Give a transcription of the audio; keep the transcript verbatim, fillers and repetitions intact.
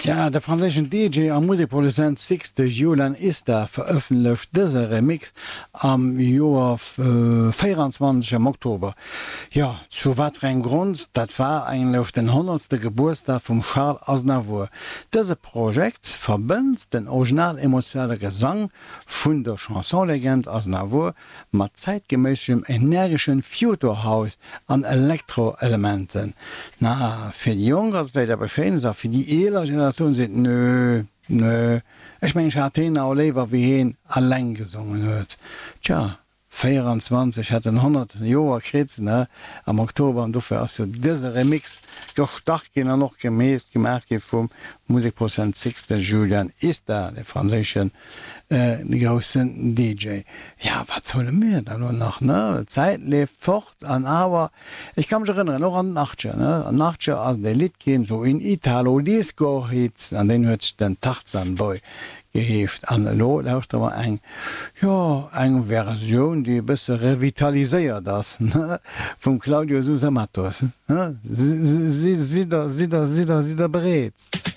Tja, de franséischen DJ a Musekproduzent Sixte Julian Ista verëffentlecht dëse Remix am Joer véieranzwanzeg am Oktober. Jo, zu wat fir engem Grond? Dat war eigentlech den honnertste Gebuertsdag vum Charles Aznavour. Dëse Projekt verbënnt den original emotionale Gesang vun der Chanson-Legend Aznavour mat zäitgeméissegem energeschen Future House an Elektro-Elementen. Na, fir déi Jonk ass et vläicht eppes Schéines a fir déi eeler Generatioun seet, Nö, nö, ech mengen ech hat heen awer léiwer wéi heen alleng gesongen huet. Tja, véieranzwanzeg hätt en honnert Joer kritt, ne, am Oktober an dofir ass jo dëse Remix gestart ginn an och gemeet gemaach gi vum Musekproduzent Sixte Julian Ista, de franséischen groussen D J. Ja, wat solle mir da lo nach, ne? D'Zäit leeft fort an awer, ech ka mech erënneren, och an den Achtzeger, ne? An den Achtzeger ass et e Lidd ginn, sou een Italo-Disco-Hit, an deen huet den Tarzan Boy geheescht. An elo lauschtere mer eng, jo, eng Versioun, déi e bësse revitaliséiert ass, ne, vum Claudio Sousa Matos, ne? Sidd der, sidd der, sidd der, sidd der bereet?